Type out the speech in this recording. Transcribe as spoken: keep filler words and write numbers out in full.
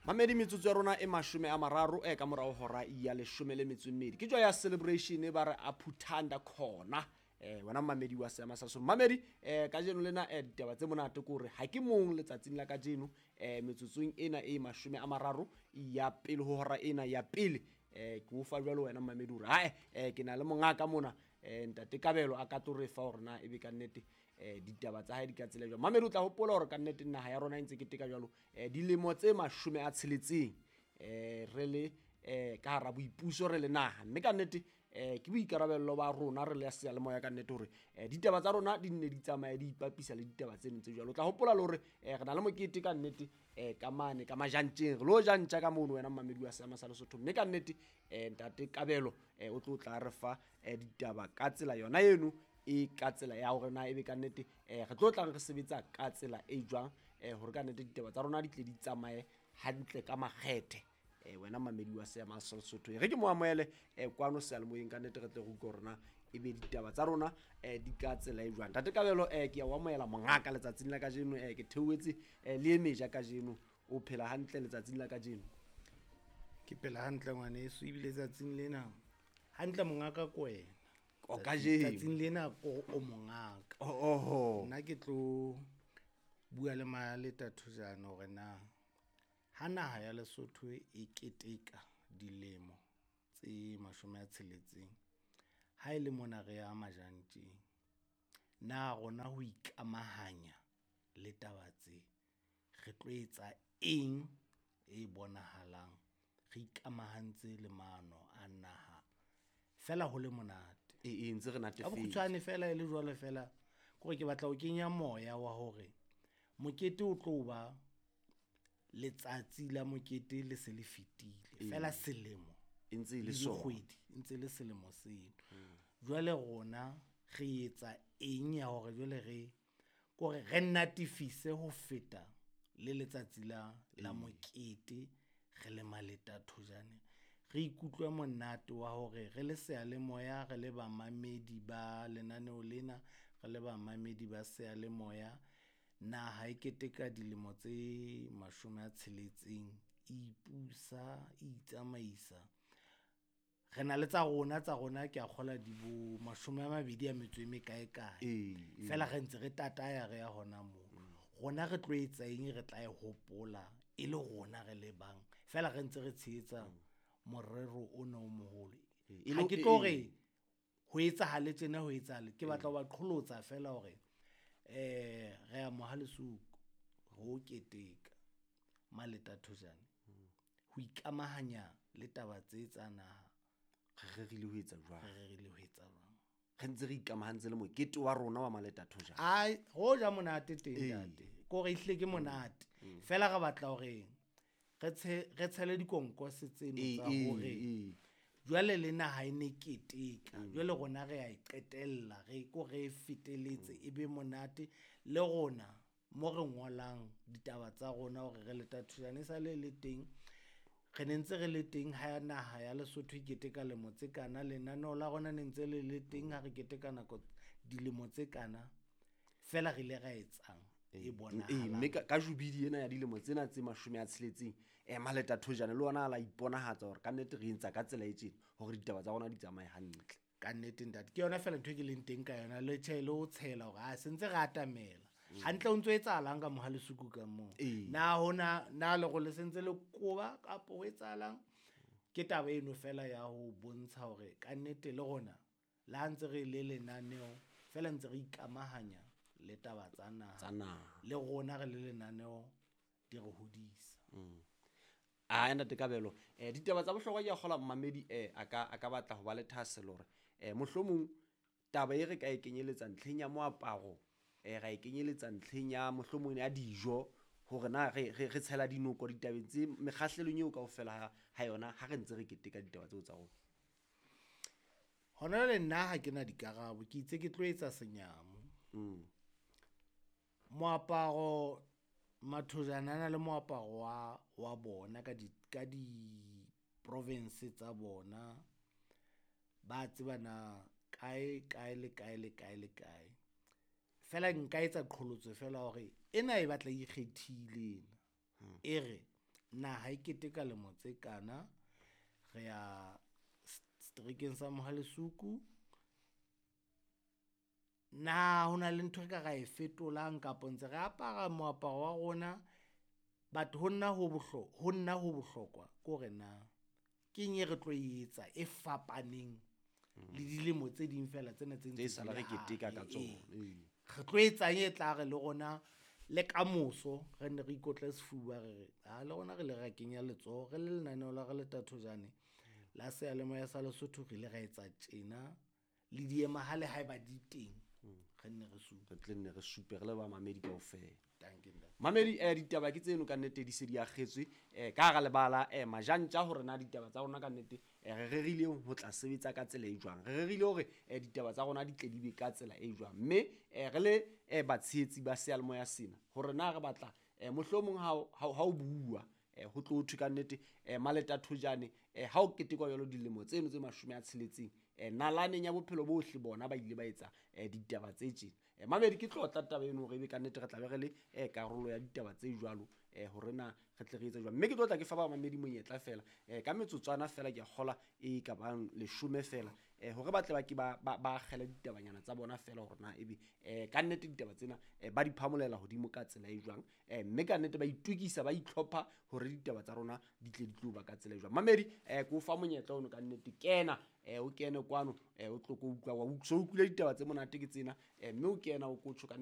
Mamedi metsotso ya rona e mashome a mararo e ka morao hora ya leshome le metso e mmedi. Ke joy ya celebration ba re a phuthanda khona. Eh wena mamedi wa seama sa so. Mamedi eh kajeno lena eh ditaba tse monate ke hore ha ke mong letsatsing la kajeno eh metsotsong ena e mashome a mararo ya pele ho hora ena ya pele eh ke o fa jwalo wena mamedi hore hae eh ke na le mongaka mona eh ntate Kabelo a ka tlo re fa hore na ebe ka nnete eh ditaba tsa hae di ka tsela jwang. Mamedi o tla hopola hore ka nnete naha ya rona e ntse keteka jwalo eh dilemo tse mashome a tsheletseng eh re le eh ka hara boipuso re le naha, mme ka nnete eh ke boikarabello ba rona re le seyalemoya ka nnete hore eh ditaba tsa rona di nne di tsamaye di ipapisa le ditaba tseno tse jwalo. O tla hopola le hore eh re na le mokete ka nnete eh ka mane ka majantjeng re lo jantja ka mono wena mamedi wa seama sa Lesotho, mme ka nnete eh ntate Kabelo eh o tlo tla re fa eh ditaba ka tsela yona eno e ka tsela ya hore na ebe ka nnete eh re tlo tlang re sebetsa ka tsela e jwang eh hore ka nnete ditaba tsa rona di tle di tsamaye hantle ka makgethe. Eh wena mamedi wa seama sa Lesotho re ke mo amohele eh kwano seyalemoyeng ka nnete re tle re utlwe hore na ebe ditaba tsa rona eh di ka tsela e jwang. Ntate Kabelo eh ke a o amohela mongaka letsatsing la kajeno eh ke theohetse eh le e meja kajeno. O phela hantle letsatsing la kajeno? Ke phela hantle ngwaneso, ebile tsatsing lena hantle mongaka ko wena. O kajeno. Tsatsing lena ko o mongaka. Oho. Nna ke tlo bua le Maleta Thojane hore na ha naha ya Lesotho e keteka dilemo tse mashome a tsheletseng, ha e le mona re ya majantjeng, na rona ho ikamahanya le taba tse re tlo etsa eng e bonahalang re ikamahantse le maano a naha fela ho le monate? E, e ntse re natefetse. Ka bokgutshwane fela e le jwalo fela kore ke batla ho kenya moya wa hore mokete o tlo ba letsatsi la mokete le se le fetile fela selemo e ntse e le le sona. dikgwedi e ntse le selemo seno. Jwale rona re etsa eng ya hore jwale re kore re natefise ho feta le letsatsi la la mokete re le Maleta Thojane, re ikutlwe monate wa hore re le seyalemoya, re le bamamedi ba lenaneo lena, re le bamamedi ba seyalemoya. Naha e keteka dilemo tse mashome a tsheletseng e ipusa, e itsamaisa. Re na le tsa rona tsa rona ke a kgola di bo mashome a mabedi a metso e mekae kae. Ee, Fela re ntse re tataya re ya hona moo. Rona re tlo etsa eng re tla e hopola e le rona re le bang. Fela re ntse re tshehetsa morero ona o moholo. E Ha lo- ke e- tlo e- re ho etsahale tjena ho etsahale. Ke batla ho ba qholotsa fela hore eh re ya Mohalesuku ho keteka Maleta Thojane ho ikamahanya le taba tse tsa naha. Re rerile ho etsa jwang? Re rerile ho etsa jwang? Re ntse re ikamahantse le mokete wa rona wa Maleta Thojane. Ai, ho ja monate teng Ee. ntate. Ke hore ehlile ke monate. Fela re batla hore re tshe re tshele dikonkose tseno Ee, tsa ee, hore ee. jwale le naha e ne keteka. Jwale rona re a e qetella, re ko re e feteletse e be monate le rona mo re ngolang ditaba tsa rona hore re Leta Thojane e sale le teng. Re ne ntse re le teng ha naha ya Lesotho e keteka lemo tse kana, lenaneo la rona ne ntse le le teng ha re keteka nako dilemo tse kana. Fela re ile ra etsang e Ee, bonahalang. mme ka, ka jubidi ena ya dilemo tsena tse mashome a tsheletseng eh Maleta Thojane le ona a la iponahatsa hore ka nnete re entsa ka tsela e tjena hore ditaba tsa rona di tsamaye hantle. Ka nnete ntate, ke yona fela ntho e ke leng teng ka yona le tjhe le ho tshela hore a se ntse re atamela. Hantle o ntso etsahalang ka Mohalesuku ka moo? Ee. Na hona na le role se ntse le koba kapo ho etsahalang? Ke taba eno fela ya ho bontsha hore ka nnete le rona le ha ntse re le lenaneo fela ntse re ikamahanya le taba tsa naha. Tsa naha. Le rona re le lenaneo di re hodisa. Ah ntate Kabelo, eh ditaba tsa bohlokwa ke a kgola mmamedi eh a ka a ka batla ho ba le thahasello hore eh mohlomong taba e re ka e kenyeletsa ntlheng ya moaparo, eh ra e kenyeletsa ntlheng ya mohlomong ya dijo hore na re re re tshela dinoko ditabeng tse mekgahlelong eo kaofela ha, ha yona ha re ntse re keteka ditaba tseo tsa rona. Hona jwale nna ha ke na dikarabo, ke itse ke tlo etsa senyamo. Mm. Moaparo Mathojane a na le moaparo wa wa bona ka di ka di province tsa bona. Ba tseba na kae kae le kae le kae le kae. Fela nka etsa qholotso fela hore ena e batla e ikgethile ena. E re Naha e keteka lemo tse kana, re ya seterekeng sa Mohale'shoek. Na ho na le ntho e ka ra e fetolang kapa ntse re apara moaparo wa rona? But ho nna ho ho nna ho bohlokwa ke hore na keng e re tlo e etsa e fapaneng le dilemo tse ding feela tsena tse Tse ntse sala di re le keteka ka hare. tsona. Ee. Ee. Re tlo etsang e tla re le rona le kamoso re nne re ikotle sefuba re re ha le rona re ile ra kenya letsoho re le lenaneo la Re le Thojane la seyalemoya sa Lesotho re ile ra etsa tjena le diemahale haeba di teng re nne re supe. Re tle nne re supe re le ba mamedi kaofela. Dankie ntate. Mamedi eh ditaba ke tseno ka nnete di se di akgetswe eh ka hara lebala eh majantja hore na ditaba tsa rona ka nnete eh re rerile ho tla sebetsa ka tsela e jwang. Re rerile hore eh ditaba tsa rona di tle di be ka tsela e jwang. Mme eh re le eh batshehetsi ba seyalemoya sena hore na re batla eh mohlomong ha o- ha o- ha o bua eh ho tlo thwe ka nnete eh Maleta Thojane eh ha o ketekwa jwalo dilemo tseno tse mashome a tsheletseng eh nalaneng ya bophelo bohle bona ba ile ba etsa eh ditaba tse tjena. Eh mamedi ke tlotla taba eno hore ebe ka nnete re tla be re le eh karolo ya ditaba tse jwalo eh hore na re tle re etse jwang. Mme ke tlo tla ke fa ba mamedi monyetla fela eh ka metsotswana fela ke a kgola e ka bang leshome fela eh hore ba tle ba ke ba ba ba akgele ditabanyana tsa bona fela hore na ebe eh ka nnete ditaba tsena eh ba di phamolela hodimo ka tsela e jwang eh mme ka nnete ba itokisa ba itlhopha hore ditaba tsa rona di tle di tlo ba ka tsela e jwang. Mamedi eh ke o fa monyetla ono ka nnete kena eh o kene kwano eh o tlo ko utlwa wa so utlwile ditaba tse monate ke tsena eh mme o kena o ko tjho ka